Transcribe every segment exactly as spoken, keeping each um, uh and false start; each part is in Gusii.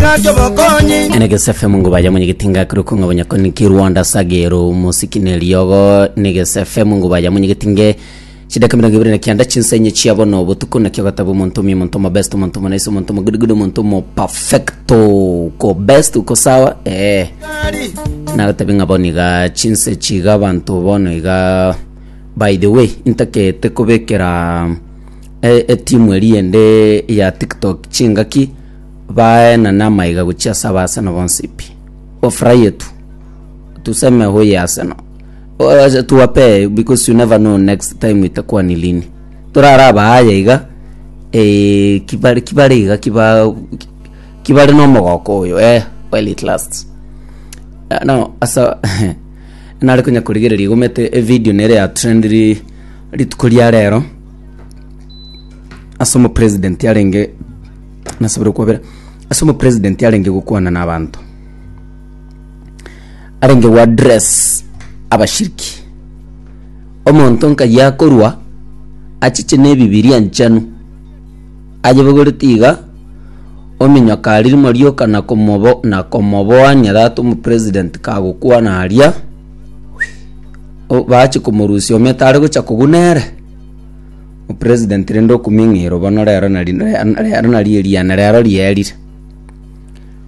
Enegesa F M nguba ya mwenyegetinga kuri kunga banyakoni ki Rwanda sagero musiki neriogo. Negesa F M nguba ya mwenyegetinge, chidaka mirongo ibere na kianda chinsenye chiabo butuko nakio gatabo. Omonto omuya, omonto omo best, omonto omo nice, omonto omo good good, omonto omo perfecto, uko best, uko sawa. eh nagatabi ng'a bono iga chinse chiga abanto bono iga. By the way, intakete kobekera e- etimu eri ende ya TikTok chingaki baenana amaiga gochia ase Abaarsenal bonsi pi. Wafurahie tu, tuseme huye Arsenal. Wacha tuwape, because you never know next time itakuwa ni lini. Turara baaya iga, eh, kibare kibare iga kiba kibare nomogoko oyo, eh well, it lasts. Uh, no asa nare konya kurigereria igomete evideo nere ya trend ri rituko ria rero ase omopresident arenge nasabire kwabera ase omopresident arenge gokwana na abanto, arenge gwa address abashiriki. Omonto nkai akorwa achiche na ebibiria nchenu ayebogoreti iga ominyoka aririmo rioka na komobo na komoboania tata omopresident kagokwana aria. O- bache komorusia omete are gocha kogunere opresident rende okuming'iro bono rero nari rero nari eriana rero rierire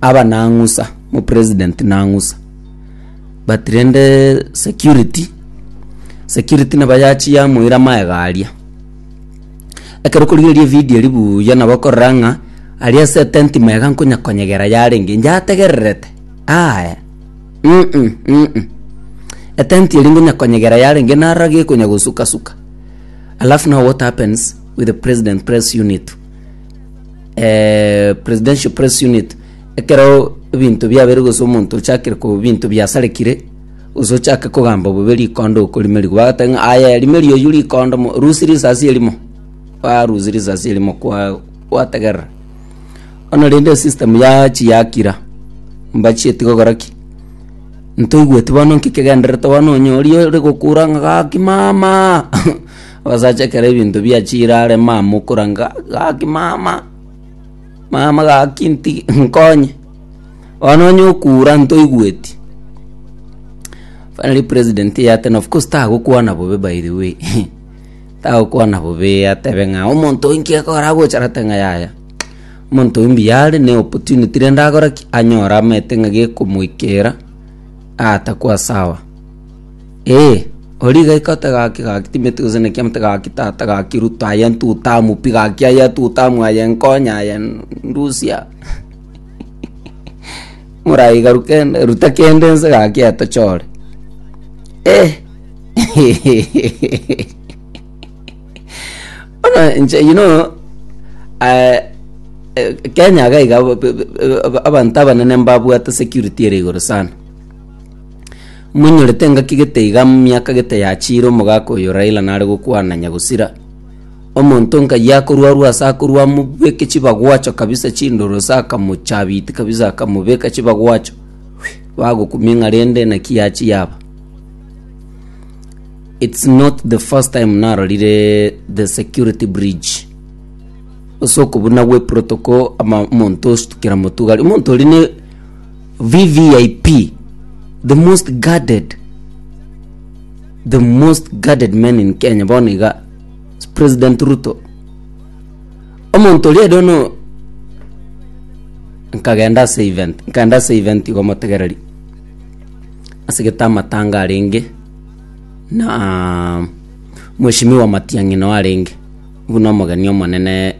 aba nang'usa omopresident nang'usa. But rende security security nabo yachi yamoira maega aria. Ekero korigereria evideo eri buya, nabo okorora ng'a aria ase etenti maega nkonya konyegera yarenge njategererete aya. mm -mm, mm -mm. Etenti eri nkonya konyegera yarenge narora gekonya gosukasuka. Alafu now what happens with the president press unit, eh, presidential press unit, ekero ebinto biabere gose omonto ochakire ko binto biasarekire gose ochake kogamba bobe, rikondo okorimerigwa bagoteba ng'a aya rimeri oyu rikondo mo rusi risasi erimo, barusi risasi erimo kwa gwategerera. Ono rende system yachi yakira mbachieti gokora ki ntoigweti bono nki kegenderete bono onyori ore gokura ng'a gaki mama. Abasacha ekero ebinto biachire are mama okora nga gaki mama mama gaki nti nkonye bono onye okura ntoigweti. Finally president yatena, of course tagokwana bobe, by the way tagokwana bobe atebe ng'a omonto oyo nki akora agocha arate ng'a yaya omonto oyo mbuyare ne opportunity rende akora ki anyora amete ng'a gekomoikera atakuwa sawa. Eh, ori gaika ote gaki gaki timeti gose naki amate gaki tata gaki Ruto aye ntutamu pi gaki aye tutamu aye nkonya aye ndusia morai rukende ruta kende nse gaki etochore. Eh, ono nche you know uh, Kenya iga iga abanto abanene mbabwate security ere igoro sana. Monyorete engaki gete iga miaka gete yachire omogaka oyo Raila nare gokwana nyagosira omonto nkai akorwarwa ase akorwa amobeke chibagwacho kabisa chindoro ase akamochabiti kabisa akamobeka chibagwacho bagokumia ng'a rende naki yachi yaba. It's not the first time narorire the security bridge ase okobuna gwe protocol ama omonto ostukera motugari omonto ori ne V V I P, the most guarded the most guarded man in Kenya bono iga President Ruto. Omonto oria, I don't know, nkagenda ase event nkagenda ase event igo motegereri ase gete amatanga arenge na Mheshimiwa Matiang'i no arenge buna omogeni omonene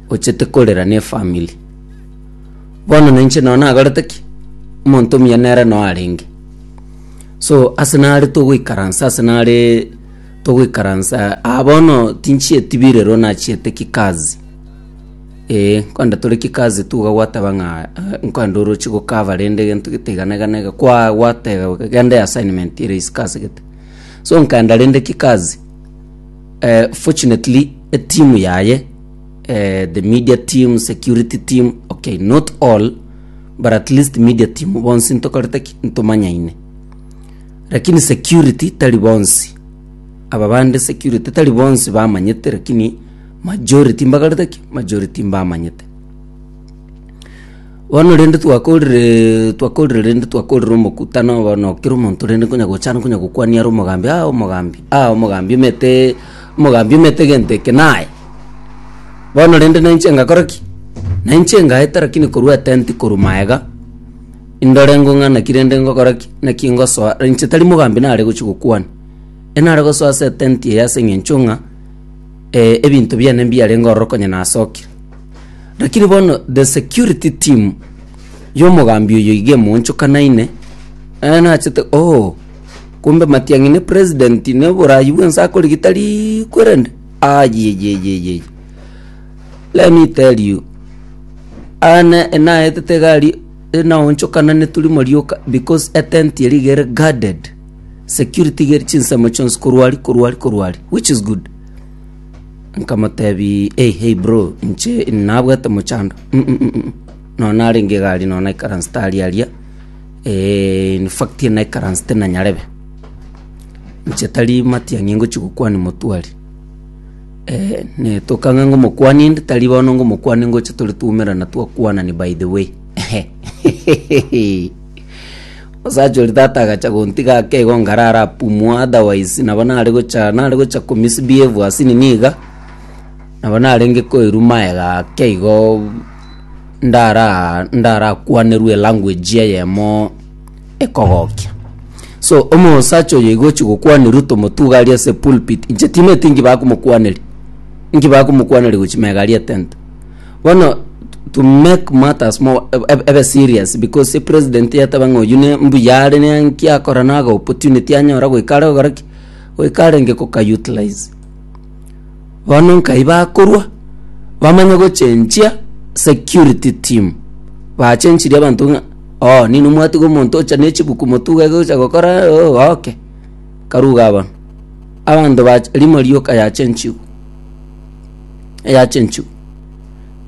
ochete korera na efamily. Bono ninche no nagorete ki omonto omuya nere no arenge so ase nare togoikaransa ase nare togoikaransa ah, bono tinchieti birero nachiete kikazi. Eh, nkoenda tore kikazi tuga gwateba ng'a eh, nkoenda orochi gokava rende gento gete iga na iga na iga kwa gwateba genda assignment ere isiko ase gete so nkaenda rende kikazi. eh, fortunately etimu yaye, eh, the media team, security team, okay, not all, but at least media team bonsi ntokorete ki ntomanyaine, lakini security tari bonsi. Aba bande security tari bonsi bamanyete, lakini majority mbakarete ki majority mbamanyete. Bono rende twakorire twakorire rende twakorire omokutano bono kera omonto rende nkonya gochana nkonya gokwania are omogambi aa omogambi aa omogambi omete omogambi omete egento eke naye. Bono rende nainche ngakora ki? Nainche ngaeta lakini korwa etent korwa maega, indore ng'o ng'a naki rende ngokora ki? Naki ngosoa, inche tari mogambi nare gochia gokwana, enare gosoa ase etent eye ase eng'encho ng'a ebinto biane mbiarenge ororo konya nasokire. Lakini bono the security team y'omogambi oyo iga emoonchokanaine, eh nachete oh, kumbe Matiang'i ne president ne oborayi bwensi akorigia tari kwerende ayeyeyeye. Let me tell you, ane enaetete egari enaonchokananetwe rimo rioka because etent eria iga ere guarded, security iga ere chinsemo chionsi korwa aria korwa aria korwa aria which is good. Nkamotebia hey hey bro inche nabwate mochando mm nonya narenge egari nonya naikaransete aria aria in fact naikaransete na nyarebe, inche tari matiang'i ngochia gokwania motwe aria, netoka ng'a ngomokwania inde tari bono ngomokwania ngocha tore twaumerana twakwanani by the way Omosacha oria tata agacha gontiga ake igo nkarara apumwa otherwise nabo nare gocha nare gocha ko misbehave ase nini iga, nabo narenge koirwa maega ake igo ndara ndarakwanerwe elanguage eyemo ekogokia. So omosacha oyo iga ochia gokwania Ruto motuga aria ase pulpit, inche timanyeti inki bakomokwaneria, inki bakomokwaneria gochia maega aria etent. Bono to make matters more ebe ebe serious because epresident yateba ng'a oyio ne mbuya are ne nki akora naga opportunity anyora goika are gokora ki? Goika arenge goka utilize. Bono nkai bakorwa, bamanye gochenchia security team, bachenchirie abanto ng'a oo ninwe mwatiga omonto ocha ne chibuku motwe iga egocha gokora oo okay, karue igaa bono. Abanto bacha rimo rioka yachenchigwa, eyachenchigwa.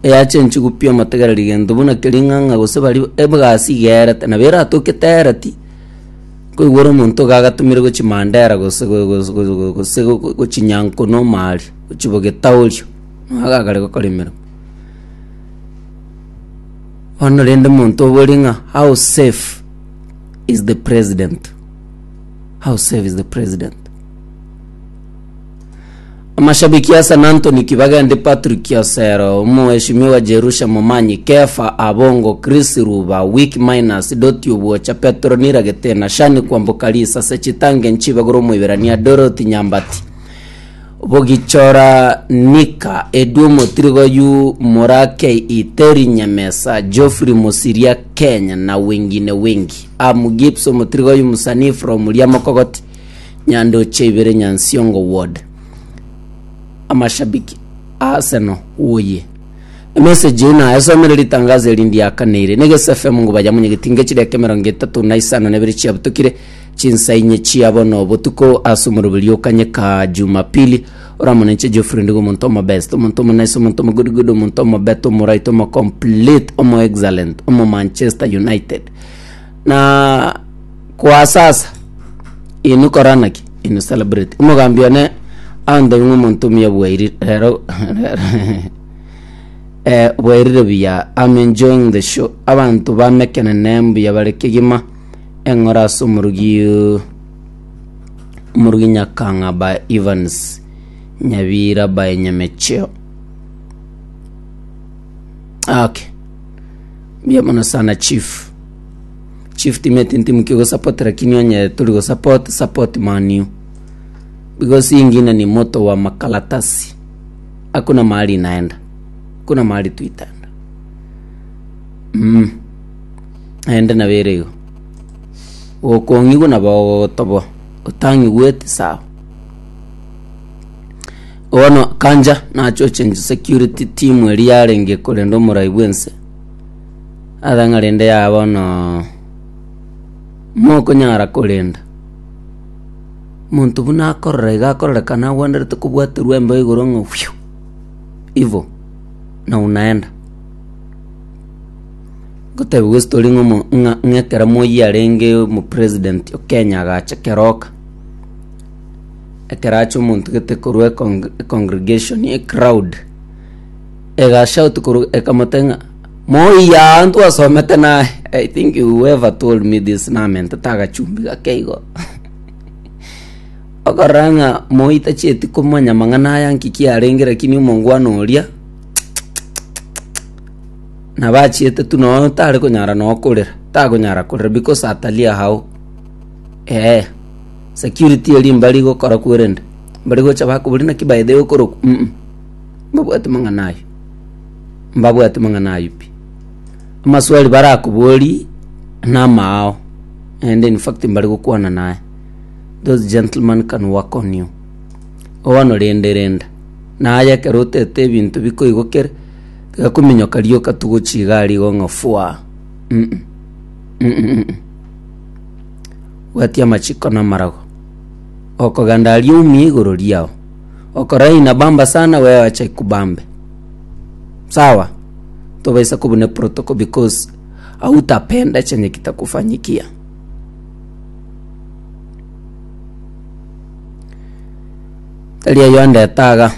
Eyachenchigwa pi omotegereri gento buna keria ng'a ng'a gose baria egasi iga erete, nabo eratoke tereti, nkoigwa ore omonto iga agatumire gochia Mandera gose go- go- go- go- gose gochia Nyankono omaaria, gochia Bogetaorio, nigo agakare gokora emeremo. Bono rende omonto oborie ng'a how safe is the president? How safe is the president? Amashabiki a San Anthony Kibagende Patrick Osero, Omoeshimiwa Jerusha Momanyi, Kefa Abongo, Chris Ruba, Wick Minus, Doti Obwocha, Petronila Getena, Shani Kwamboka Risase, Chitange Nchibagoro Omoiberania, Dorothy Nyambati, Bogichora Nika, Edu Omotirigo Yu Mura K E, Terry Nyamesa, Geoffrey Mosiria Kenya na wengine wengi. Am Gibbs Omotirigo Yu Musanii from Riamokogoti, Nyandoche Ibere Nyansiongo Ward. Amashabiki a Arsenal oye. Emessage eye nayesomire ritangazo eri ndiakaneire. Negese F M nguba ya munyegetinge chideka emerongo etato na isano na ibere chiabutokire chinsa inye chia bono botuko ase omoroberi okanyeka Jumapili oramone inche Geoffrey Ndigo omonto omo best omonto omo nice omonto omo good good omonto omo better omo right omo complete omo excellent omo Manchester United na kwa sasa Inwe kora naki? Inwe celebrate. Omogambi one antebi ng'a omonto omuya bwairire rero eh, bwairire buya. I'm enjoying the show. Abanto ba Mekenene mbuya bare kegima. Eng'ora ase omorugi omorugi Nyakang'a by Evans Nyabira by Nyamecheo. Okay. Mbuya mono sana chief. Chief timeti ntimuki gosupport lakini onye tori gosupport support Man U because hii ingine ni moto wa makaratasi hakuna mahali inaenda hakuna mahali tu itaenda mm. Naende nabo ere igo gokong'igwa nabo ogotoboa otang'igweti sawa bono kanja nache ochange security team eria yarenge korenda omorai bwense Ase ng'a rende yaya bono mokonyara korenda, omonto buna akorora iga akororekana agwenerete kobwaterwa embeo igoro ng'a fiu, ivo na unaenda. Ngotebiwa estory ng'a omo ng'a ng'a ekero Moi arenge omopresident o Kenya agacha keroka, ekero acha omonto gete korwa econg econgregation ecrowd, egashout korwa ekamotebia ng'a. Moiya ntwasomete naye. I think whoever told me this namentete agachumbi gake igo. Okorora ng'a moi tachieti komanya mang'ana aya nki kiarenge lakini omongwana oria nabo achiete tu nonya tare konyara nonya korera, takonyara korera because atalia how eh security eria mbari gokora kwerende, mbari gocha bakoboria naki by the way okorokwa mh, mbabwati mang'ana aywo, mbabwati mang'ana aywo pi. Amaswali barakoborie na amaao, naende in fact mbari gokwana naye, those gentlemen can work on you. Bono rende renda, naye ekero otete ebinto bikoigokera, tiga kominyoka rioka togochia iga aria igo ng'a fwaa mh mh. Bwatia amachiko na amarago, okogenda aria oumie igoro riao, okora inabamba sana wewe acha ikubambe. Sawa, tobaisa kobuna protocol because hautapenda chenye kitakufanyikia. Tari ayio andete iga,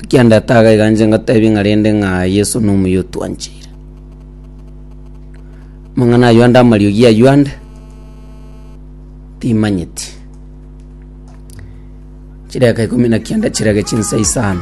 ekiandete iga iga inche ngotebie ng'a rende ng'a Yeso nomuya otwancheire. Amang'ana ayio ande amariogi ayio ande, timanyeti. Chidakika ikomi na kianda chirage chinsa isano.